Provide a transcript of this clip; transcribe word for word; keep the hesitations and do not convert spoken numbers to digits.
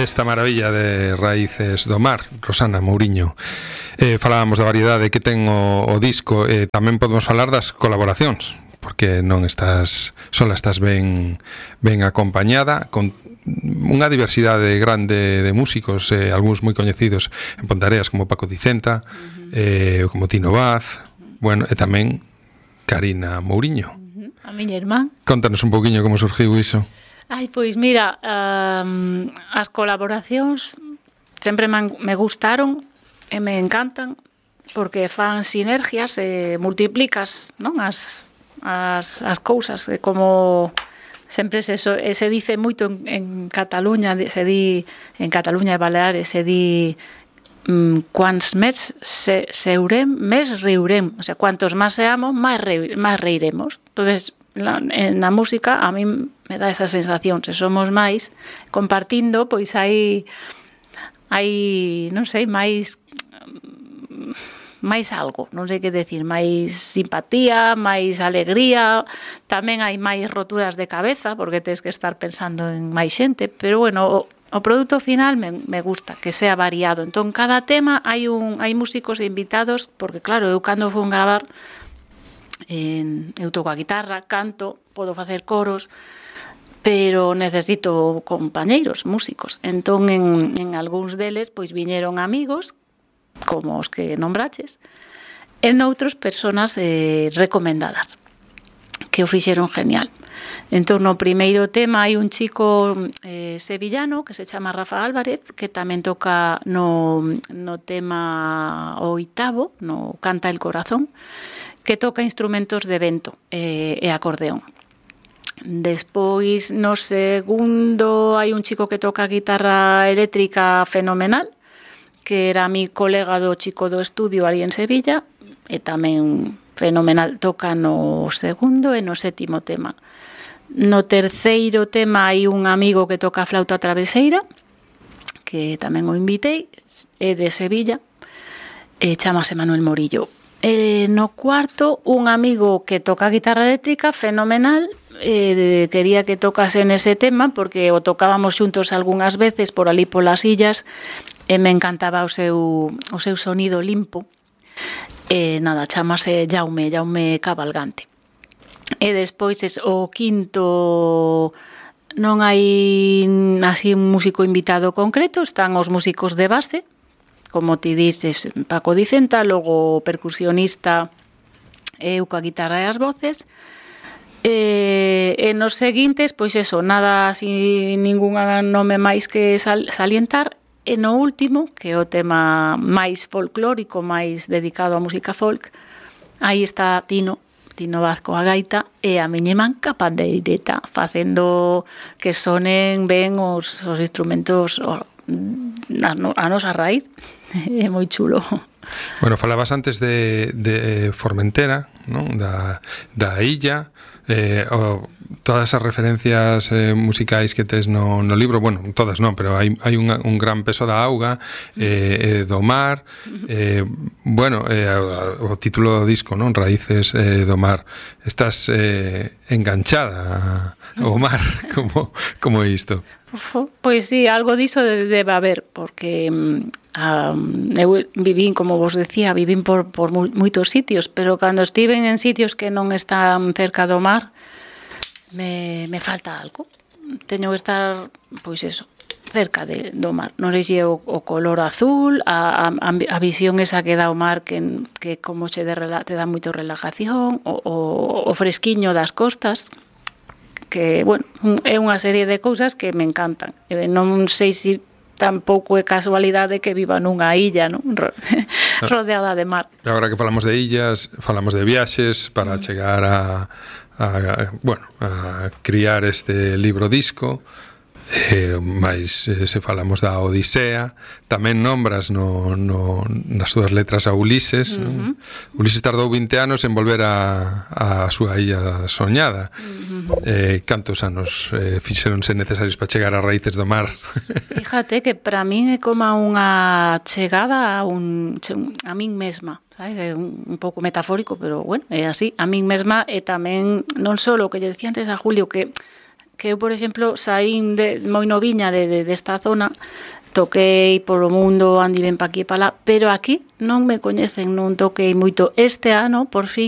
esta maravilla de Raíces do Mar, Rosana Mouriño. Eh, falábamos da variedade que ten o, o disco, e eh, tamén podemos falar das colaboracións, porque non estás sola, estás ben ben acompañada con unha diversidade grande de músicos, eh, algúns moi coñecidos en Ponteareas como Paco Dicenta, uh-huh. eh, como Tino Vaz, bueno, e tamén Karina Mouriño. Uh-huh. A miña irmán. Contanos un pouquiño como surgiu iso. Ai, pois mira, um, as colaboracións sempre me, me gustaron e me encantan porque fan sinergias e multiplicas, non, as, as, as cousas, e como sempre se, se dice moito en, en Cataluña, se di en Cataluña e Baleares, se di um, quants més se, seurem, més riurem, o sea, cuantos máis seamos, máis, re, máis reiremos. Entonces, la, en a música a mí me dá esa sensación, se somos máis compartindo, pois hai hai, non sei, máis máis algo, non sei que decir, máis simpatía, máis alegría, tamén hai máis roturas de cabeza, porque tens que estar pensando en máis xente, pero bueno, o, o produto final me, me gusta, que sea variado. Entón, cada tema hai un hai músicos invitados, porque claro, eu cando fui a gravar, en, eu toco a guitarra, canto, podo facer coros, pero necesito compañeiros, músicos. Entón, en, en algúns deles, pois viñeron amigos, como os que nombraches, e noutros personas eh, recomendadas, que o fixeron genial. Entón, no primeiro tema hai un chico eh, sevillano que se chama Rafa Álvarez, que tamén toca no, no tema oitavo, no Canta el Corazón, que toca instrumentos de vento eh, e acordeón. Despois, no segundo, hai un chico que toca guitarra eléctrica fenomenal, que era mi colega do chico do estudio ali en Sevilla, e tamén fenomenal, toca no segundo e no sétimo tema. No terceiro tema hai un amigo que toca flauta traveseira, que tamén o invitei, é de Sevilla, e chamase Manuel Morillo. E no cuarto, un amigo que toca guitarra eléctrica fenomenal, eh, quería que tocase nese tema, porque o tocábamos xuntos algunhas veces por ali polas illas, e me encantaba o seu, o seu sonido limpo. E nada, chamase Jaume, Jaume Cabalgante. E despois es, o quinto non hai así un músico invitado concreto, están os músicos de base, como ti dices, Paco Dicenta, logo percusionista, eu coa guitarra e as voces. E, e nos seguintes, pois eso, nada así, ningún nome máis que sal, salientar. E no último, que é o tema máis folclórico, máis dedicado á música folk, aí está Tino, Tino Vaz coa gaita, e a miña irmán ca pandeireta, facendo que sonen ben os, os instrumentos, o, a, a nosa raíz. É moi chulo. Bueno, falabas antes de, de Formentera, non? Da, da illa, eh, o, todas as referencias eh, musicais que tes no, no libro, bueno, todas non, pero hai, hai un, un gran peso da auga, eh, eh, do mar, eh, bueno, eh, o, o título do disco, non? Raíces eh, do Mar. Estás eh, enganchada ao mar, como, como é isto? Pois sí, algo diso debe haber, porque um, eu vivín, como vos decía, vivín por, por moitos sitios, pero cando estiven en sitios que non están cerca do mar, me, me falta algo. Teño que estar, pois eso, cerca de, do mar. Non sei se é o, o color azul, a, a, a visión esa que dá o mar, que, que como che de, te dá moito relajación, o, o, o fresquiño das costas, que, bueno, é unha serie de cousas que me encantan. Non sei se tampouco é casualidade que viva nunha illa, non? Rodeada de mar. Agora que falamos de illas, falamos de viaxes para chegar a, a, a bueno, a criar este libro disco. Eh, mais eh, se falamos da Odisea, tamén nombras no, no, nas súas letras a Ulises. Uh-huh. Ulises tardou vinte anos en volver a, a súa illa soñada. Uh-huh. eh, cantos anos eh, fixeronse necesarios para chegar a Raíces do Mar? Fíjate que para min é como unha chegada a, un, a min mesma, sabes? É un, un pouco metafórico, pero bueno, é así, a min mesma. E tamén non só o que lle decía antes a Julio, que que eu, por exemplo, saín de, moi noviña de, de, desta zona, toquei polo mundo, andi ben pa aquí e pa lá, pero aquí non me coñecen, non toquei moito. Este ano, por fin,